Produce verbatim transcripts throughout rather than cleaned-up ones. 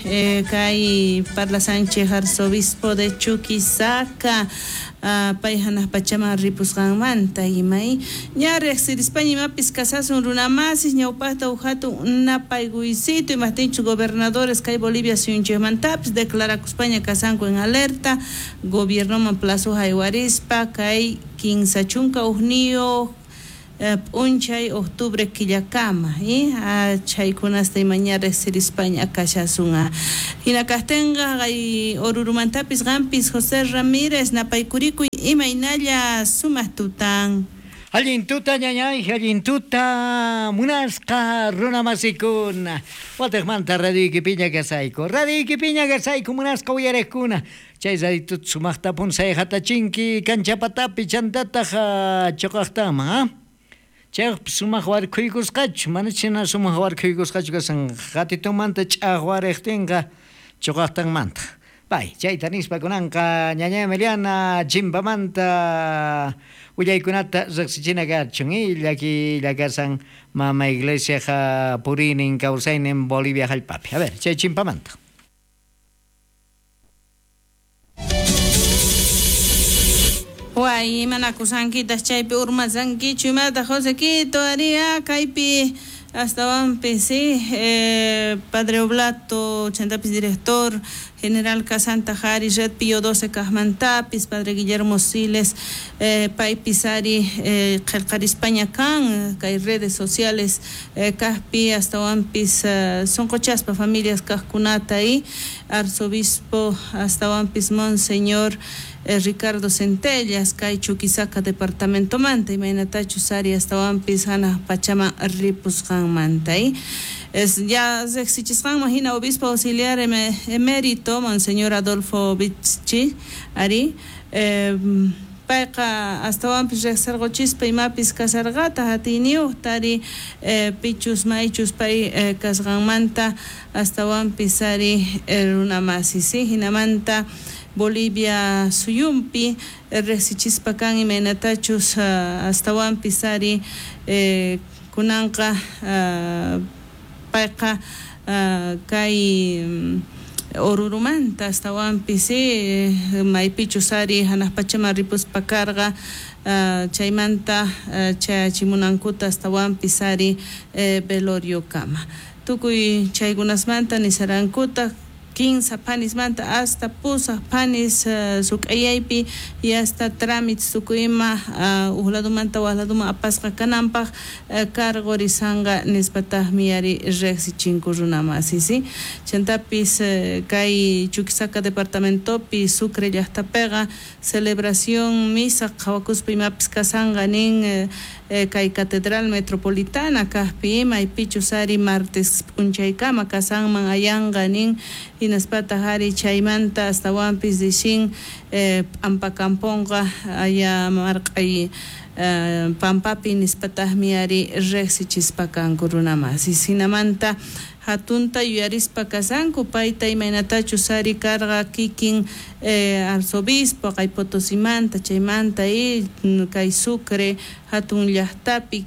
eh, kay parlasanchej arzobispo de Chuquisaca uh, pay hanaq pachaman ripusqanmanta imay ña riqsirispaña imapis kasasun runamasis ñawpaqta uj hatun napaykuysito imaqtinchus gobernadores kay Bolivia suyunchikmantapis declarakuspaña kasanku en alerta gobiernoman plazo haywarispa kay kinsa chunka ujniyuq p'unchay octubre killakama eh chaykunasta imaña riqsirispaña kashasun. Hina kaqtinqa kay Orurumantapis qampis José Ramírez napaykurikuy imaynalla sumaq tutan. Allin tuta ñañay, allin tuta munasqa runamasikuna. Wataqmanta radioyki piña kasayku. Radioyki piña kasayku munasqa uyariqkuna. Chay raditut sumaqta punsay hatachinki kanchapatapi chantataq chuqaqtama, ha? Chaypi sumaq warkhuykusqachu, mana china sumaq warkhuykusqachu kasan qatitumanta ch'aqwariqtinqa chuqaqtanmanta. Pay, chayta nispa kunanqa ñaña Emiliana chimpamanta willaykunata riqsichina kachun llaki llakasan mama iglesiaqa puriynin kawsaynin Bolivia hallp'api. A ver, chay chimpamanta. Way, imanakusankitas chaypi urmasankichu imata José Quito aria kaypi astawanpis sí, eh, Padre Oblato chantapis director general Casanta Jari Red Pío doce kajmantapis Padre Guillermo Siles eh, paypis ari eh, qillqarispaña kan kay redes sociales eh, kajpi astawanpis eh, sonqochaspa familias kajkunata y arzobispo astawanpis Monseñor eh, Ricardo Centellas kay Chuquisaca departamentomanta imaynatachus ari astawanpis hanaq pachaman ripusqanmanta y es ya riqsichisqanman hina obispo auxiliar emérito Monseñor Adolfo Bichi ari eh, payqa astawanpis riqsirquchispa imapis kasarqata atiyniyuqta ari eh, pichus maychus pay eh, kasqanmanta astawanpis ari eh, runamasis ¿sí? Hinamanta Bolivia suyumpi riqsichispa kan imaynatachus uh, astawanpis ari eh, kunanqa uh, payqa uh, kay um, Orurumanta astawanpis eh, maypichus ari hanaq pachaman ripuspa karqa uh, chaymanta uh, chayachimunankuta astawanpis ari eh, veloriokama tukuy chaykunasmanta nisarankuta kinsa panismanta hasta pusaq panis uh, suk'ayaypi y hasta trámites tukuyma uh, uj ladumanta waj laduman apasqa kananpaq uh, cargorisanqa nispataqmi ari riqsichinku runamasi ¿sí? Chantapis uh, kay Chuquisaca departamentopi Sucre llaqtapiqa celebración misa qhawakuspa imapis kasanqa nin uh, eh, kay Catedral Metropolitana kaqpi maypichus ari martes p'unchaykama kasanman ayanqa nin hinaspataq ari chaymanta astawanpis dichin eh, p'ampakampunqa aya marq'ay eh, pampapi nispataqmi ari riqsichispa kanku runamasis hinamanta hatunta yuyarispa kasanku payta imaynatachus ari karqa kikin eh, arzobispo kay Potosimanta chaymanta y kay Sucre hatun llaqtapi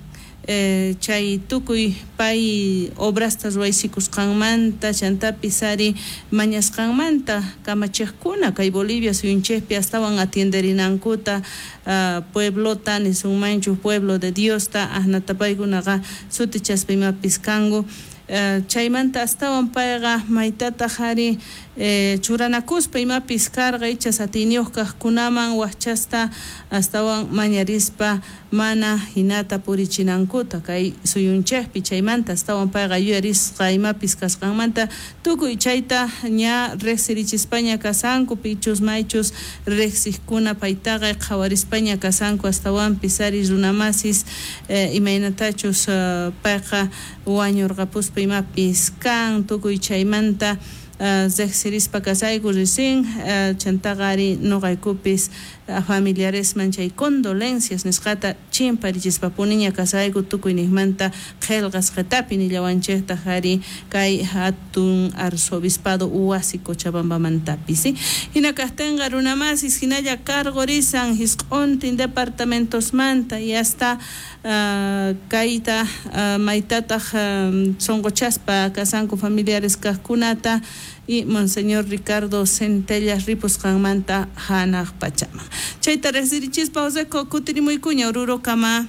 eh, chay tukuy pay obrasta ruwaysikusqanmanta chantapis ari mañasqanmanta kamachiqkuna kay Bolivia suyunchikpi astawan atienderinankuta uh, pueblota nisunmanchu pueblo de Diosta asnatapaykunaqa sutichaspa imapis kanku. Uh, chaymanta astawan payqa maytataq ari eh, churanakuspa imapis karqa ichas atiyniyuq kaqkunaman waqchasta astawan mañarispa mana hinata purichinankuta kay suyunchikpi chaymanta astawan payqa yuyarisqa imapis kasqanmanta tukuy chayta ña riqsirichispaña kasanku pichus maychus riqsiqkuna paytaqa qhawarispaña kasanku astawanpis ari runamasis eh, imaynatachus uh, payqa wañurqapuspa imapis kan tukuy chaymanta riqsirispa kasayku ricin uh, chantaqa ari nuqaykupis uh, familiaresman chay condolencias nisqata chimparichispapuniña kasayku tukuyniqmanta qillqasqatapi nillawanchiktaq ari kay hatun arzobispado wasi Cochabambamantapis ¿sí? Hina kaqtinqa runamasis hinalla cargorisan hisq'untin departamentosmanta y hasta uh, kayta uh, maytataq um, sunquchaspa kasanku familiares kaqkunata y Monseñor Ricardo Centellas ripusqanmanta hanaq pachaman. Chayta riqsirichispa Joseco kutirimuykuña Orurokama.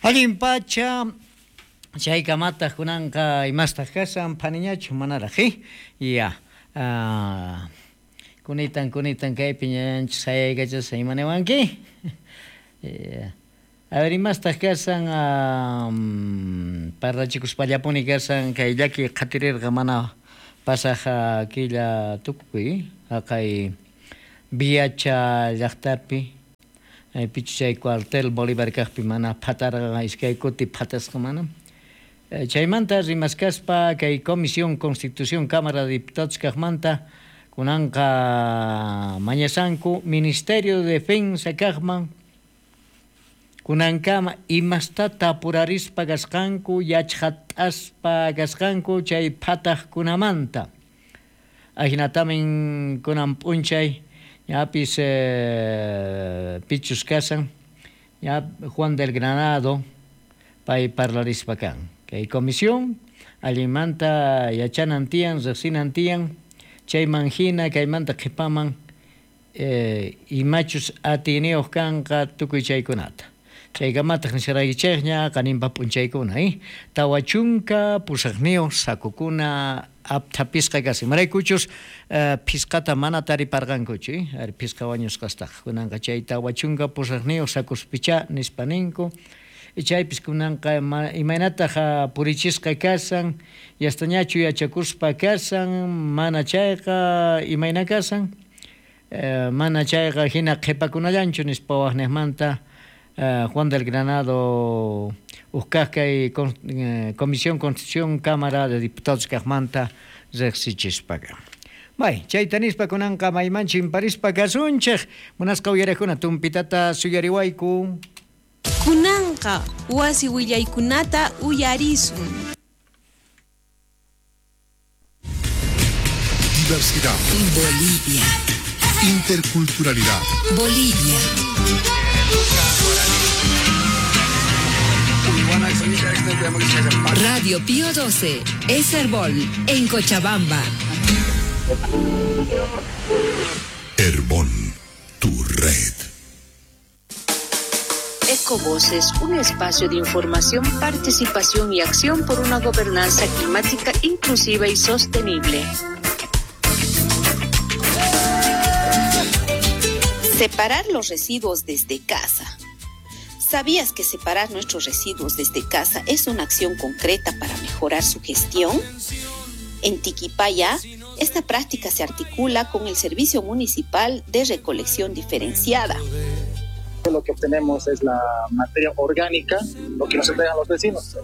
Allin pacha chaykamataq kunanqa imastaq kasan phaniñachu manaraq ya uh, kunitan kunitan kaypi ñañanchis sayaykachasqa imaniwanki. A ver, imastaq kasan um, parlachikuspallapuni kasan kay llaki qhatirirqa mana pasaq killa tukuy haqay Viacha llaqtapi pichu chay cuartel Bolívar kaqpi mana phatarqa iskay kuti phatasqa mana. Chaymanta rimaskaspa kay Comisión Constitución Cámara de Diputados kaqmanta kunanqa mañasanku Ministerio de Defensa kaqman kunankama imastata apurarispa kasqanku yachqat'aspa kasqanku chay phataqkunamanta. Ahinatamin kunan p'unchay ñapis eh, pichus kasan ya Juan del Granado pay parlarispa kan. Kay comisión allinmanta yachanan tiyan riqsinan tiyan chayman hina kaymanta qhipaman eh, imachus atiyniyuq kanqa tukuy chaykunata. Chaykamataq nisharaykichikña qaninpa p'unchaykuna eh? Tawa chunka pusaqniyuq sakukuna apthapisqa kasan. Imaraykuchus eh, phisqata mana tariparqankuchu eh? Ari phisqa wañusqastaq kunanqa chay tawa chunka pusaqniyuq sakuspichá nispa ninku. Chaypis kunanqa imaynataq purichisqa kasan, yastañachu yachakuspa kasan, mana chayqa imayna kasan, eh, mana chayqa hina qhipakunallanchu nispa waqniqmanta eh, Juan del Granado uqkaq kay con, eh, Comisión Constitución Cámara de Diputados kaqmanta riqsichispaqa. Bay, chayta nispa kunanqa maymanchu imparispa kasunchik, munasqa uyarijkuna tumpitata suyariwayku. Kunanqa wasi willaykunata uyarisun. Diversidad. Bolivia. Interculturalidad. Bolivia. Radio Pío doce, Herbol, en Cochabamba. Herbol, tu red. Ecovoces, un espacio de información, participación y acción por una gobernanza climática inclusiva y sostenible. Separar los residuos desde casa. ¿Sabías que separar nuestros residuos desde casa es una acción concreta para mejorar su gestión? En Tiquipaya, esta práctica se articula con el Servicio Municipal de Recolección Diferenciada. Lo que obtenemos es la materia orgánica, lo que nos entregan los vecinos.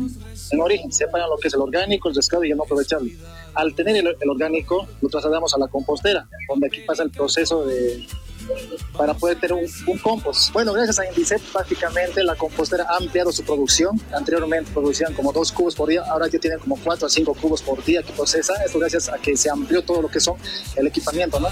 En origen, separan lo que es el orgánico, el reciclado y el no aprovechable. Al tener el, el orgánico, lo trasladamos a la compostera, donde aquí pasa el proceso de para poder tener un, un compost. Bueno, gracias a Indicep, prácticamente la compostera ha ampliado su producción. Anteriormente producían como dos cubos por día, ahora ya tienen como cuatro a cinco cubos por día que procesan. Esto gracias a que se amplió todo lo que son el equipamiento, ¿no?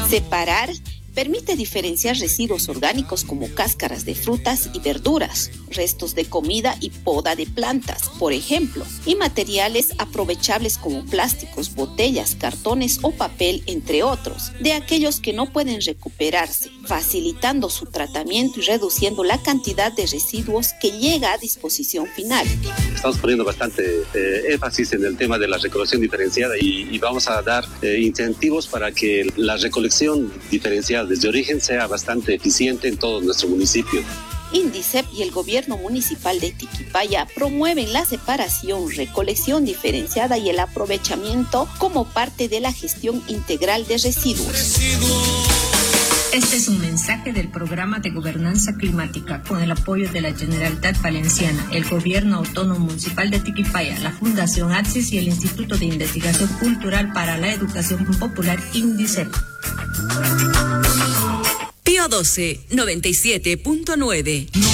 Separar permite diferenciar residuos orgánicos como cáscaras de frutas y verduras, restos de comida y poda de plantas, por ejemplo, y materiales aprovechables como plásticos, botellas, cartones o papel, entre otros, de aquellos que no pueden recuperarse, facilitando su tratamiento y reduciendo la cantidad de residuos que llega a disposición final. Estamos poniendo bastante eh, énfasis en el tema de la recolección diferenciada y, y vamos a dar eh, incentivos para que la recolección diferenciada desde origen sea bastante eficiente en todo nuestro municipio. Indicep y el gobierno municipal de Tiquipaya promueven la separación, recolección diferenciada y el aprovechamiento como parte de la gestión integral de residuos. Este es un mensaje del Programa de Gobernanza Climática con el apoyo de la Generalitat Valenciana, el Gobierno Autónomo Municipal de Tiquipaya, la Fundación Axis y el Instituto de Investigación Cultural para la Educación Popular Indicep. Pío doce, noventa y siete punto nueve. No